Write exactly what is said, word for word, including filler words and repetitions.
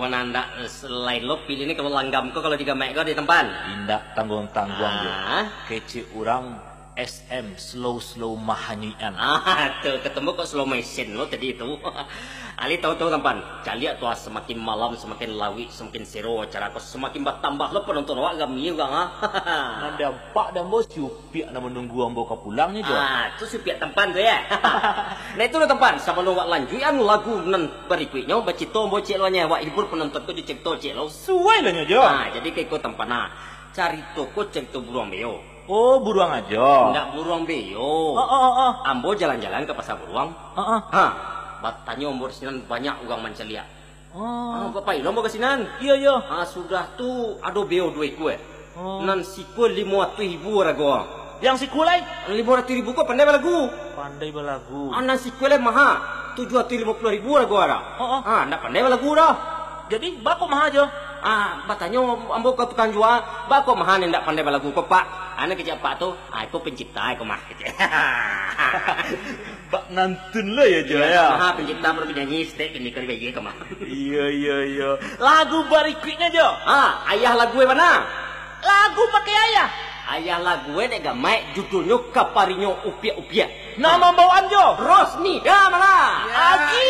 Nan ndak lain lo pilih ni, kalau langgam ko, kalau digamaik ko di Tampan. Indak tangguang-tangguang jo. Ah. Kecek urang S M, slow-slow mahanyuikan. Ah, tu, ketemu kok slow motion lo tadi tu. Ali tahu-tahu Tampan, caliak tu ah, samakin malam samakin lawik, samakin sero acara ko, samakin batambah lo panonton awak, rami urang ah. Nan dampak dek ambo, si Upiak nan manunggu ambo ka pulangnyo jo. Ah, tu si Upiak Tampan tu yo. Nah, itu lo Tampan, sabalun wak lanjuikan lagu nan barikuiknyo, bacito ambo ciek lo nyo, wak hibur panonton ko jo carito ciek lo. Suai lah nyo jo. Ah, jadi ka iko Tampan nah. Carito ko carito buruang beo. Oh, buruang ajo. Ndak buruang beo. Oh, oh, oh, oh. Ambo jalan-jalan ka pasa buruang. Oh, oh. Ha, batanyo ambo di sinan banyak urang mancaliak. Oh. Ah, bapayi lo ambo ka sinan. Iyo, iyo. Ah, sudah tu ado beo duo ikua. Oh. Nan sikua limo ratuih ribu arago. Yang sikua lai? Limo ratuih ribu ko pandai balagu. Pandai balagu. Ah, nan sikua lai maha, tujuah ratuih limo puluah ribu arago ado. Oh, oh. Ah, ndak pandai balagu doh. Jadi, baa kok maha jo? Ah, batanyo ambo ka tukang jua, baa kok maha nan ndak pandai balagu ko, Pak? Anu kecek Pak tu, ah, iko pencipta iko mah, kecek. Bak ngantun lo yo, jo, yo? Maha pencipta, baru penyanyi, stek, kini kali bayi ko mah. Iyo, iyo, iyo. Lagu barikuiknyo, jo? Ah, ayah lagu e bana? Lagu pakai ayah. Ayah lagu e dek gamaik, judulnyo Kaparinyo Upiak-upiak. Nan mambawaan, jo? Rosni Damala. Yo. Agi.